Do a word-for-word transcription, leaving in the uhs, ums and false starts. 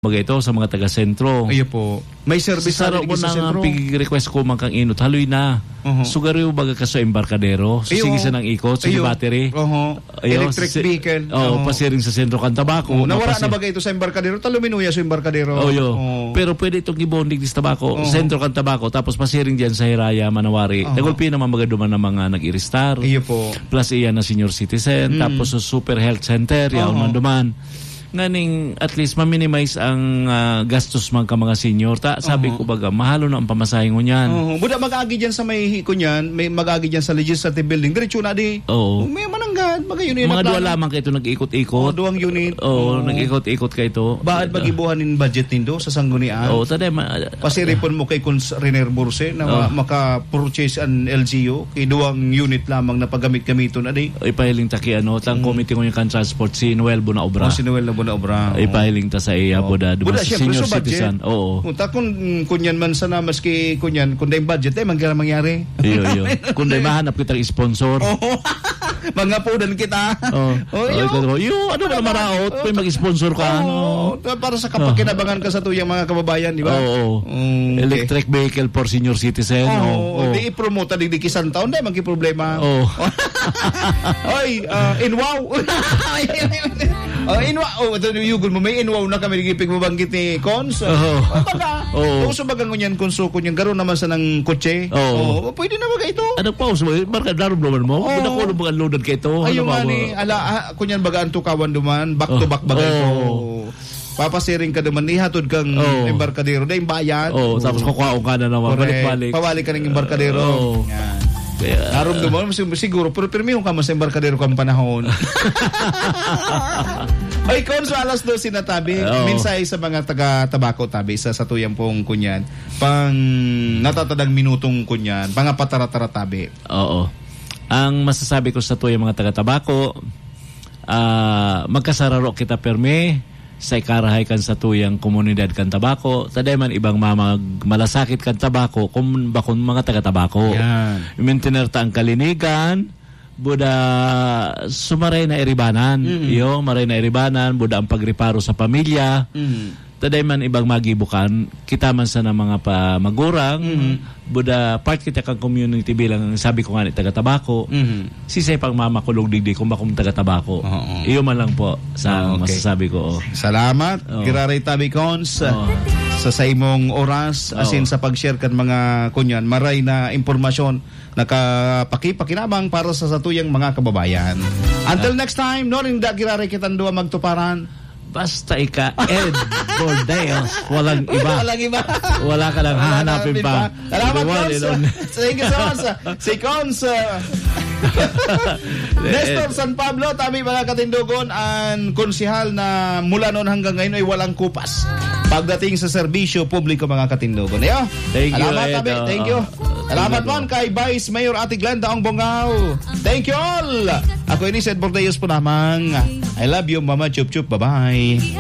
Baga ito sa mga taga-sentro. Iyo po. May service Sa na saro digdi ko sa na nga sentro. pig-request ko man kang inot, haloy na. Oho. Sugariw baga ka sa embarkadero. So, Iyo. sige sa nang ikot, sige Iyo. battery. Oho. Iyo, Electric si-, vehicle. oh, Oho. pasiring sa sentro kan Tabaco. Oh, nawara Mapasi- na baga ito sa embarkadero? Taluminuya sa embarkadero. Oh, yo. Oh. Pero pwede itong gibonding sa Tabaco. Oho. Sentro kan Tabaco, tapos pasiring dyan sa Hiraya, Manawari. Oho. Nagulpi naman baga duman ng mga nag-iristar. Iyo po. Plus iyan na senior citizen. Mm. Tapos sa Super Health Center, yaon Oho. man duman. Nganing at least ma-minimize ang, ah, gastos man ka mga senior. Ta, sabi Oho. ko baga, mahalo na ang pamasahe ngunyan. Oho. Buda mag-agi dyan sa may, kunyan, may mag-agi dyan sa Legislative Building. Diretso na di. Oo. May mananggad, baga yun yung Mga duwa plano. lamang ka ito nag-ikot-ikot. Oh, duwang unit. Oo, Oo. nag-ikot-ikot ka ito. Baad magibuhan in budget nindo sa sanggunian? Oo, taday ma- Pasiripon mo kay Cons Riner Burse na Oh. ma-, maka-purchase an L G U, kay duwang unit lamang na paggamit-gamiton, adi? Ipahiling ta ki ano, tang Mm. committee ngunyan kan transport, si Noel Bunaobra. Oh, si Noel na Bunaobra. Ipahiling ta sa iya, Oh. buda, duman Buda, sa siyempre, senior sa budget. citizen. Oo. Kung ta-, kung, kunyan man sana, maski kunyan, kung dahil budget, eh, mangyari, mangyari. Iyo, iyo. Kung dahil mahanap kitang sponsor. Oo. Mangapudan kita. Oh. Oh, Oh, iyo. ikaw, yo, ano Para ba maraot? Oo. May mag-sponsor ka, Oo. ano? Ta-, para sa kapakinabangan ka sa tuyang mga kababayan, di ba? Oo. Mm, okay. Electric vehicle for senior citizen, Oo, oo. di i-promote, di, di kisan taon, di, magkiproblema. Oo. Oy, ah, inwaw. Oh, inwaw. Oh, ito, yugol mo, may inwaw na kami, nagipig mabanggit ni Cons. Oo. Baga, Oo. uso baga ngunyan, Cons, so, kunyan, garo naman sa nang kotse. Oo. Oo, pwede na baga ito. Ano pa, uso, marka, darom naman mo? Oo. Buda ko, ano ba ang loaded ka ito? Ayun Ano ba, nga ni, ba? ala, ah, kunyan baga ang tukawan duman, back to Oh. back baga ito. Oh. Papasiring ka duman, ihatod kang Oh. embarkadero, dahil bayad. Oh, tapos Oh. kukuhaon ka na naman, Correct. balik-balik. Pabalik ka ng embarkadero. Oh. Yan. Kaya Narumduman mo, sig-, siguro, pero pirmihon ka man sa embarkadero kang panahon. Ay, Cons, alas dose na tabi. Oo. Mensahe sa mga taga Tabaco tabi, sa, sa tuyang pong kunyan. Pang natatadang minutong kunyan, mga patara-tara tabi. Oo. Ang masasabi ko sa tuyang mga taga Tabaco, ah, magkasararo kita permi sa ikarahay kan satuyang komunidad kan Tabaco. Taday man ibang mamag-, malasakit kan Tabaco kung bakong mga taga Tabaco. Yan. Mintinerta ang kalinigan, buda sumaray na iribanan. Mm. Iyo, maray na iribanan, buda ang pagreparo sa pamilya. Mm. Taday man ibang magibukan, kita man sana mga pa-, magurang, Mhm. buda part kita kang community bilang, sabi ko nga ni, taga Tabaco. Mhm. Sisay pang mamakulog digdi kung bakong taga Tabaco. Oo. Iyo man lang po sa Ah, okay. masasabi ko, oh. Salamat, Oo. Giraray Tabi Cons, Oo. sa saimong oras, Oo. asin sa pag-share kan mga kunyan, maray na impormasyon, nakapakipakinabang para sa satuyang mga kababayan. Until Ah. next time, no, rin da giraray kitang duwa magtuparan. Basta ika, Ed Bordeos, walang iba. Walang iba. Wala ka lang Wala hahanapin ka pa. pa. Salamat, The one Cons. and only. Thank you so much. Si Cons, uh, Nestor San Pablo, tabi mga katindogon, ang konsehal na mula noon hanggang ngayon ay walang kupas pagdating sa serbisyo publiko, mga katindogon. Ayo. Thank you, Salamat, Ed. tabi. Thank you. Oo. Salamat Thank you. man kay Vice Mayor Ate Glenda Ong Bongao. Thank you all. Ako ini si Ed Bordeos po lamang. I love you, Mama Chup Chup. Bye-bye.